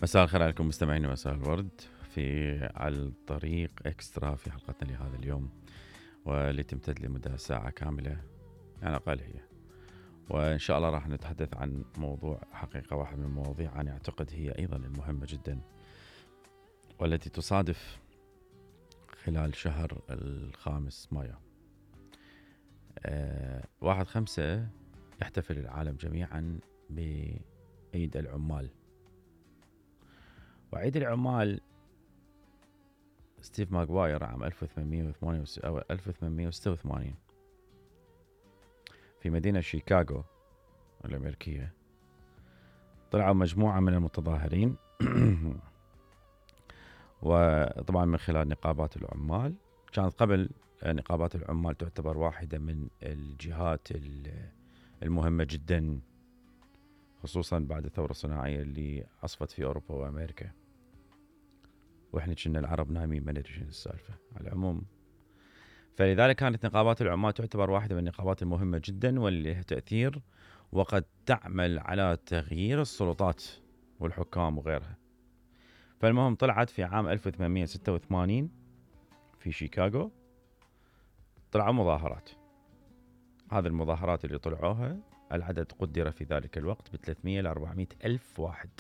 مساء الخير عليكم مستمعين مساء الورد في على الطريق اكسترا في حلقتنا لهذا اليوم، واللي تمتد لمدة ساعة كاملة يعني أقل هي. وإن شاء الله راح نتحدث عن موضوع حقيقة واحد من المواضيع أنا أعتقد هي أيضا المهمة جدا، والتي تصادف خلال شهر 5 مايو. 1/5 يحتفل العالم جميعا بعيد العمال. وعيد العمال ستيف ماغواير عام 1886 في مدينة شيكاغو الأمريكية طلعوا مجموعة من المتظاهرين وطبعا من خلال نقابات العمال. كانت قبل نقابات العمال تعتبر واحدة من الجهات المهمة جدا، خصوصا بعد الثورة الصناعية اللي عصفت في أوروبا وأمريكا، واحنا كنا العرب نايمين ما ندري شنو السالفه على العموم. فلذلك كانت نقابات العمال تعتبر واحده من النقابات المهمه جدا واللي لها تاثير، وقد تعمل على تغيير السلطات والحكام وغيرها. فالمهم طلعت في عام 1886 في شيكاغو طلعوا مظاهرات. هذه المظاهرات اللي طلعوها العدد قدر في ذلك الوقت ب 300 ل 400 ألف واحد.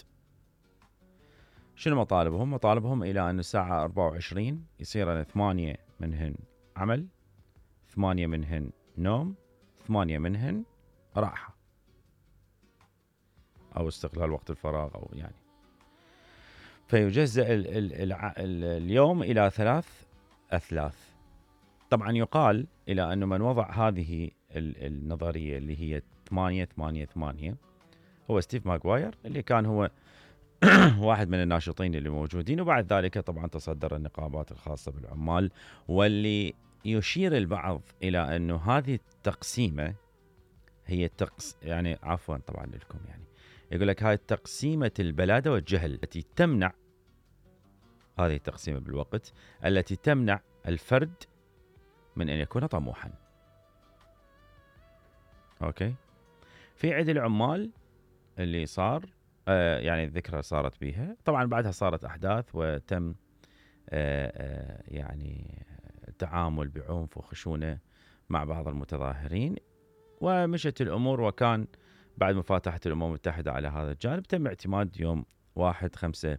شنو مطالبهم؟ مطالبهم إلى أن الساعة 24 يصير 8 منهن عمل، 8 منهن نوم، 8 منهن راحة أو استغلال وقت الفراغ أو يعني. فيجزأ اليوم إلى 3 أثلاث. طبعا يقال إلى أنه من وضع هذه النظرية اللي هي 8-8-8 هو ستيف ماغواير، اللي كان هو واحد من الناشطين اللي موجودين. وبعد ذلك طبعا تصدر النقابات الخاصة بالعمال، واللي يشير البعض إلى أنه هذه التقسيمة هي يعني عفوا طبعا لكم يعني يقول لك هاي تقسيمة البلادة والجهل التي تمنع، هذه التقسيمة بالوقت التي تمنع الفرد من أن يكون طموحا. أوكي، في عيد العمال اللي صار يعني الذكرى صارت بيها، طبعا بعدها صارت أحداث وتم يعني التعامل بعنف وخشونة مع بعض المتظاهرين، ومشت الأمور. وكان بعد مفاتحة الأمم المتحدة على هذا الجانب تم اعتماد يوم 1/5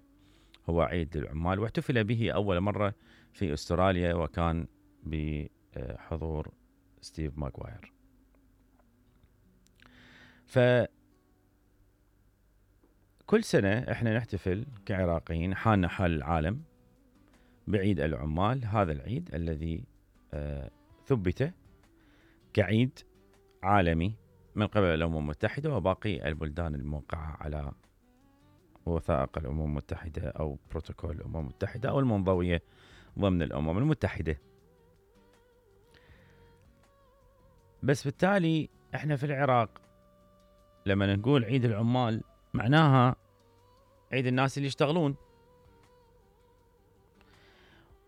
هو عيد العمال، واحتفل به أول مرة في أستراليا، وكان بحضور ستيف ماغواير. كل سنة احنا نحتفل كعراقيين حالنا حال العالم بعيد العمال. هذا العيد الذي ثبت كعيد عالمي من قبل الأمم المتحدة وباقي البلدان الموقعة على وثائق الأمم المتحدة أو بروتوكول الأمم المتحدة أو المنضوية ضمن الأمم المتحدة. بس بالتالي احنا في العراق لما نقول عيد العمال معناها عيد الناس اللي يشتغلون،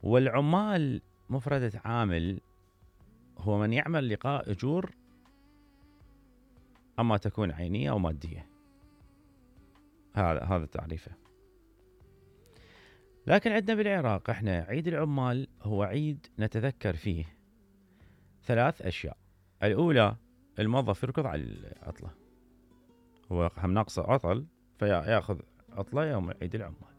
والعمال مفردة عامل هو من يعمل لقاء أجور أما تكون عينية أو مادية. هذا تعريفه. لكن عندنا بالعراق احنا عيد العمال هو عيد نتذكر فيه 3 أشياء. الأولى الموظف يركض على العطلة، هو هم ناقصه عطل فياخذ عطلة يوم عيد العمال.